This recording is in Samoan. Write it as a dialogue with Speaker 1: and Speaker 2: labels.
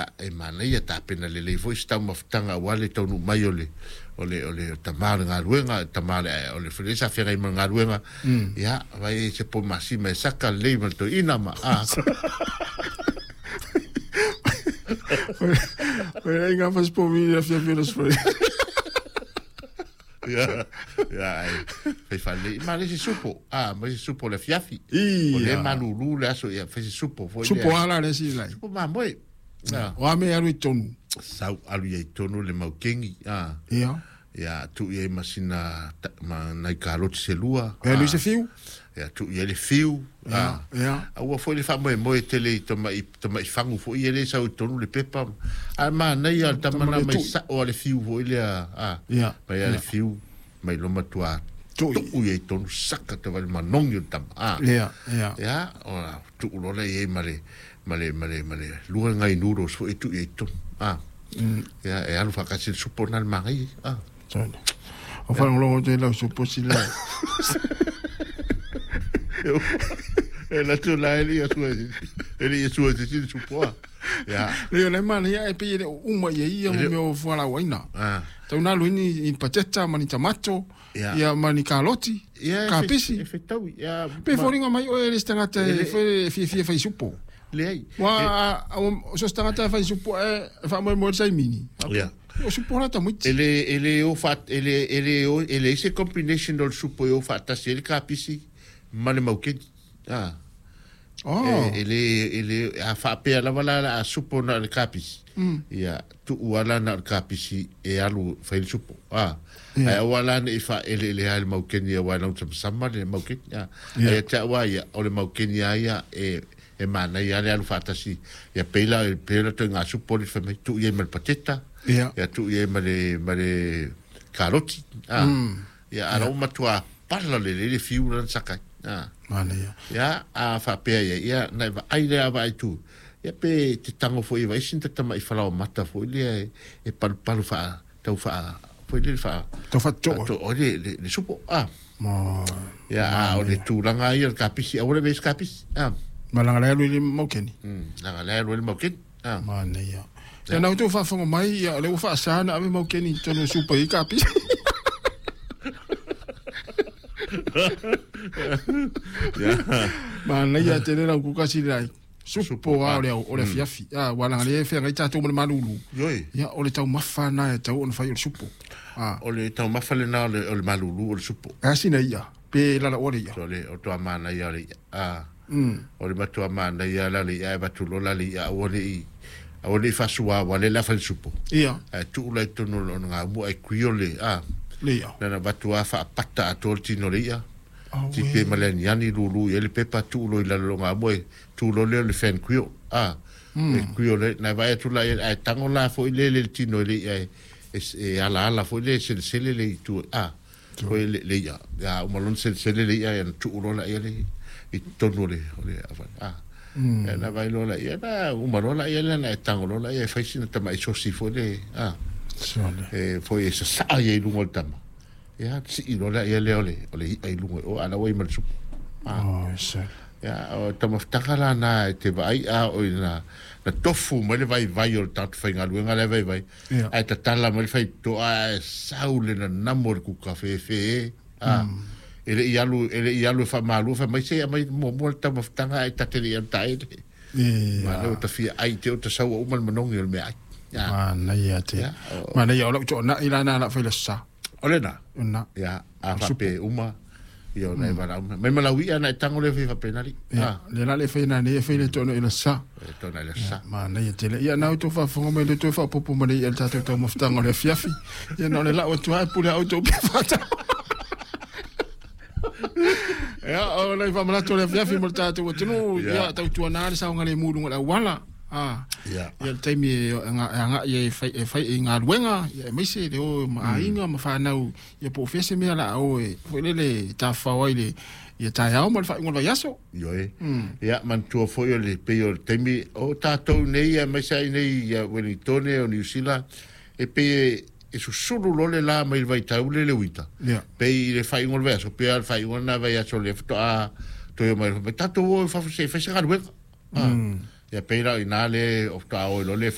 Speaker 1: Ia e manaia tapena lelei foi se taumafataga aua le taunuu mai o le o le o le tama o le galuega, tama o le fale sa feagai ma le galuega. Ia vai se po masima e saka lelei ma le toeaina ma a.
Speaker 2: Oi lai ngā whasipo mi le afiafi o le aso.
Speaker 1: Ia, ia, ai, fai faalelei. Ma le isi supo, a, ma isi supo o le afiafi.
Speaker 2: Ia.
Speaker 1: O lea e malulu le aso, ia, fai se supo foi lea.
Speaker 2: Supo a la le isi lai.
Speaker 1: Supo mamoe. A.
Speaker 2: O a mea e alu i totonu?
Speaker 1: Sau alu i ai totonu le maukeni, a.
Speaker 2: Ia.
Speaker 1: Ia, tuu i ai ma sina, ma nai kaloti se lua.
Speaker 2: E alu i se fiu?
Speaker 1: Ia, tuu i ai le fiu.
Speaker 2: Ia, ia.
Speaker 1: Aua foi le faamoemoe tele i tama'i, tama'i fagu foi ia lea e sau i totonu le pepa. Ae manaia le tama na mai sa'o a le fiu foi lea, a.
Speaker 2: Ia.
Speaker 1: Mai a le fiu, mai loa matua
Speaker 2: Tu'i.
Speaker 1: tuu i ai i totonu, saka te vale manogi o le tama, a.
Speaker 2: Ia, ia.
Speaker 1: Ia, ona tuu loa lea i ai ma le, ma le, ma le, ma le lua nai noodles foi e tuu i ai i totonu, a. Ia, e alu faatasi le supo lena i le magaia, a.
Speaker 2: Sorry. O whalongolongo te lau supo si la.
Speaker 1: E la tu la e li sua e li sua se si supo a. Ia.
Speaker 2: Le le mana ia e pe le uma ia ia mo mea o fuala waina.
Speaker 1: Ah.
Speaker 2: Tau na luini i pateta ma ni tomato.
Speaker 1: Ia.
Speaker 2: Ia ma ni kaloti.
Speaker 1: Ia,
Speaker 2: Ka pisi.
Speaker 1: E fetaui. Ia.
Speaker 2: Pe foringa mai o e le tangata e fe fia fia fai supo.
Speaker 1: Leai.
Speaker 2: Wa o so tangata fai supo e fa mo mo sai mini.
Speaker 1: Ia.
Speaker 2: O supo la tamuiti.
Speaker 1: E le e le o fa e le e le o e le se combination o le supo e o faatasi ai le kapisi ma le maukeni. Ah.
Speaker 2: Oh.
Speaker 1: E le e le a faapea lava la la a supo na le kapisi. Ia tuu ala na le kapisi e alu fai le supo. Ah.
Speaker 2: Ia.
Speaker 1: Ai aua la nei faaeleele ai le maukeni aua e lausamasama le maukeni. Ah.
Speaker 2: Ia.
Speaker 1: Ai te aua ia o le maukeni a ia e e manaia le alu faatasi. Ia pei la pei la toe ngā supo le fai mai tuu i ai ma le pateta.
Speaker 2: Ia.
Speaker 1: Ia tuu i ai ma le ma le karoti. Ah. Ia ala o matua pala le le le fiu lana sakai. Ah.
Speaker 2: Mana ia.
Speaker 1: Ia, a faapea ia, ia, nai vaai lea vaai tu. Ia pe te tango foi i vaisi ni tatama'i falaoamata foi lea e, e palupalu faa, tau faa, foi lea faa,
Speaker 2: Tau faatoa.
Speaker 1: to, o le, le, le supo, ah.
Speaker 2: Ma
Speaker 1: Ia, a, o le tulaga ia o le kapisi, aua le vesi kapisi, ah.
Speaker 2: malanga le alu i le maukeni.
Speaker 1: Langa le alu ai le maukeni, ah.
Speaker 2: Mana ia. Ia nau tau faafofoga mai, ia o lea ua faasa na ave maukeni i totonu o supa i kapisi.
Speaker 1: Ia,
Speaker 2: Manaia tele lau kuka sili lai. Supo a o le au, o le afiafi. Ah, ua langa le feagai tatou ma le malulu.
Speaker 1: Ioi.
Speaker 2: Ia, o le taumafa na e tau ona fai o le supo. Ah,
Speaker 1: O le taumafa lena o le, o le malulu o le supo.
Speaker 2: e asina ia, pe lala o le ia.
Speaker 1: O le, o toa manaia o le ia, ah. O le matua manaia la le ia e avatu loa la le ia aua ne i, aua ne i faasua aua le la fai le supo.
Speaker 2: Ia,
Speaker 1: Ae tuu la i totonu o lona gaumua ai kuio le, ah.
Speaker 2: le ia.
Speaker 1: Lana avatu a faapata atoa le tino o le ia.
Speaker 2: Auē.
Speaker 1: Tipe ma le aniani lulu i ai le pepa tuu loa i lalo o gaumua e tuu loa lea o le fan kuio. Ah. E kuio le, na vaai atu la ia, ae tago la foi le le tino i le ia e, e, e alaala foi le selesele le i tua. Ah. Foi le, le ia. Ia, uma loa ona selesele le ia, ia na tuu loa la ia le i totonu o le, o le, ah. Ia na vaai loa la ia, na uma loa la ia lea na e tago loa la ia e fai sina tama'i sosi foi le, ah.
Speaker 2: Sole.
Speaker 1: E foi e sasaa ia i luga o le tama. Ia, sii loa lea ia lea o le, o le i'a i luga o ala ua i ma le supo. Ah.
Speaker 2: Oh, sole.
Speaker 1: Ia, o taumafataga la na e te vaai a o i na, na tofu mai le vaivai o le tagata faigaluega lea vaivai.
Speaker 2: Ia.
Speaker 1: Ae tatala mai le faitotoa ae sau le nanamo o le kuka fefe e. Ah. E le i alu, e le i alu e faamalua fai mai se aumai muamua le taumafataga ae ta te le i alu taele.
Speaker 2: Ia.
Speaker 1: Ma lea ua tafia ai te o ta saua uma le manogi o le meaai. Ia.
Speaker 2: Manaia te.
Speaker 1: Ia, o-
Speaker 2: Manaia o lau toonai la na la fai le sa.
Speaker 1: O lena.
Speaker 2: Na.
Speaker 1: Ia, a faapea uma, ia ona e valaau mai. Mai ma lau i'a na e tago lea fai faapena alii.
Speaker 2: Ia,
Speaker 1: Ah,
Speaker 2: le la le fai na nei e fai le toonai le sa.
Speaker 1: e toonai le sa.
Speaker 2: Manaia tele. Ia na outou faafofoga mai le toe faaopoopo ma le ia le tatou taumafataga o le afiafi. Ia na o le lau atu lava e pule a outou pe faatau. Ia, o le faamanatu o le afiafi mo le tatou atunuu,
Speaker 1: Ia.
Speaker 2: ia tautuana le saogalemu i luga o le auala. Ah.
Speaker 1: Ia.
Speaker 2: Ia le taimi e agai e fai e fai i galuega, ia aemaise le o ma aiga ma fanau, ia po o fea se mea la o e foi lele tafafao ai le ia taeao ma le faaiuga o le vaiaso.
Speaker 1: Ioe. Ia, manatua foi o le pei o le taimi o tatou nei aemaise ai nei ia Wellingtone o Niu Sila, e pei e e susulu loa le la mai le vaitau le le uita.
Speaker 2: Ia.
Speaker 1: Pei i le faaiuga o le vaiaso, pei lava le faaiuga lena vaiaso lea faatoa toe omai fai mai, tatou o i fafo se i fai se galuega. Ah. Ia pei la o i ina le o faatoa o ai loa le